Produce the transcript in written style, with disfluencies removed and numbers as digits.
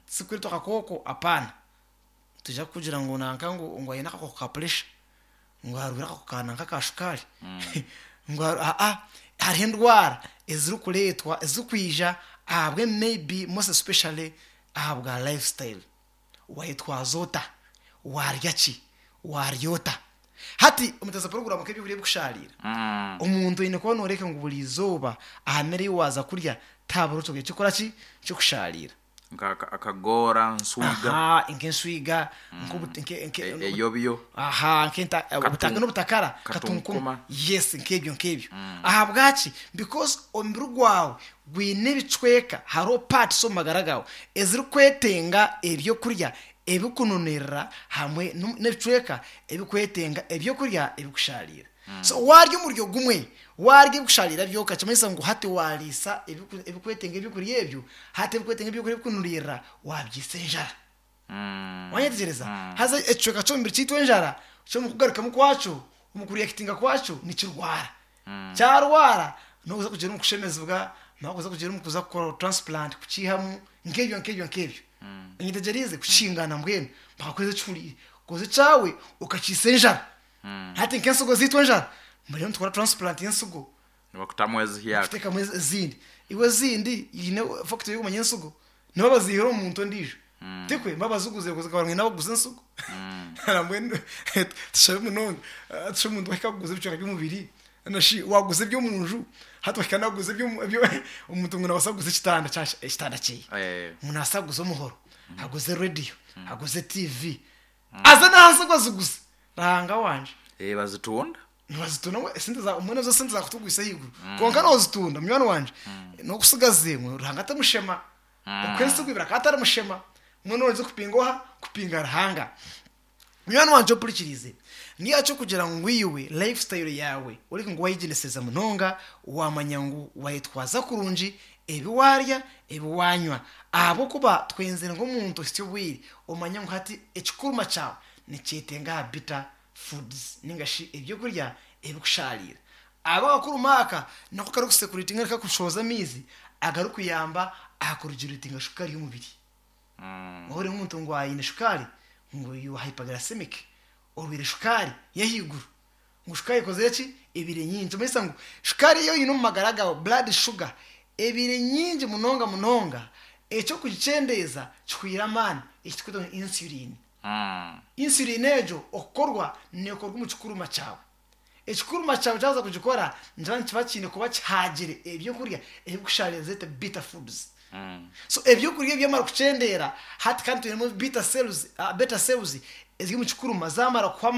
Tizirikureetwa akakooko apaana. Nitwija kukugira ngu nanka ngu ngu aine akakooko ka puresha, ngu arwaire akakooko ka nanka ka shukaari, ngu aa hariho endwara ezirikureetwa ezirikwija ahabwe maybe most especially ahabwa life style. Wayetwaza ota? Waarya ki? Waarya ota? Hati omutaza puroguraamu nk'ebyokurya ebikushaariira, omuntu oine kuba nooreeka ngu buri izooba aha mere ei waaza kurya tihabura ekyokurya kirikukora ki? Kirikushaariira. Nka akagoora, nswiga. Aha, nk'enswiga, nk'obuti, nke, nke, Eyobyo. Aha, nk'enta, obutaka n'obutakara, katunkuma. Yes, nk'ebyo, nk'ebyo. Ahabwaki? Because omubiri gwawe gwine ebicweka, hariho parts omu magara gaawe ezirikwetenga ebyokurya ebikununuirira hamwe n'ebicweka ebikwetenga ebyokurya ebikushaariira. So waarya omuryo gumwe, waarya ebikushariira byonka nikimanyisa ngu hati waariisa ebikwetenga ebyokurya ebyo, hati ebikwetenga ebyokurya ebikunuririra waabiisa enjara. Wanyetegyereza? Haza ekicweka ky'omubiri kyaitu enjara, kyo omu kugarukamu kwakyo, omu kuriyakitinga kwakyo nikirwara. Kyarwara, noza kugira omu kushemezibwa, noza kugira omu kuza kukora transplant kukiihamu, nk'ebyo nk'ebyo nk'ebyo. Onyetegyereize? Kukingana mbwenu bakakuheereza ekihuriire. Koza ekyawe okakiisa enjara. Hati nk'ensigo zaitu enjara, mbwenu nitukora transplant y'ensigo. Nibakutamu ezihyaka. Bakutekamu ezindi. Iwe ezindi eine factory y'okumanya ensigo. Nibo baziihire omu muntu ondiijo. Tikwe? Nibo baziguzire kuza ngu abaguza ensigo. Mbwenu tushabe munonga tushabe omuntu wahika kuguza ebicweka by'omubiri nashi waguza eby'omunju hati wahika nakuguza omuntu ngu nabaasa kuguza ekitanda ekitanda kyeye. Ngu nabaasa kuguza omuhoro, aguze rediyo, aguze tiivi. Aze n'aha nsigo aziguze. Ruhanga wangye. Eh, bazitunda. Nibazitunda ngu esente za mbwenu ezo sente zakutugwisa ahaiguru. Kwonka nozitunda munywani wangye, nokusigaza emwe Ruhanga timushema. Okuha ensigo ibiri akaba atari mushema. Mbwenu noija kupinga oha? Kupinga Ruhanga. Munywani wangye ompurikiriize, ni ahaki okugira ngu iwe life style yaawe oreke ngu wayegyendesereza munonga, wamanya ngu wayetwaza kurungi, ebi waarya, ebi waanywa. Ahabw'okuba twenzire ngu omuntu ohitsye obwire omanye ngu hati ekikuruma kyawe nikyetenga aha bitter foods ninga shi ebyokurya ebikushaariira. Ahabwa akakuruma aka nako karikusekuraitinga nari kakushohoza amaizi agarikuyamba aha kuregulatinga shukaari y'omubiri. Wahurira omuntu ngu aine shukaari ngu you are hyperglycemic, orwaire shukaari y'ahaiguru. Ngu shukaari ekozire ki? Ebaire nyingi. Nikimanyisa ngu shukaari ei oine omu magara gaawe, blood sugar, ebaire nyingi munonga munonga, eky'okugikyendeeza kihweire amaani, eki turikweta ngu insulin. Insulin egyo okukorwa neekorwa omu kikuruma kyawe. Ekikuruma kyawe kyaza kugikora nikiba nikiba kiine kuba kihaagire ebyokurya ebikushaariza zeete bitter foods. So ebyokurya ebi byamara kukyendeera, hati kandi twinemu beta cells, beta cells eziri omu kikuruma zaamara kuhwa amaani.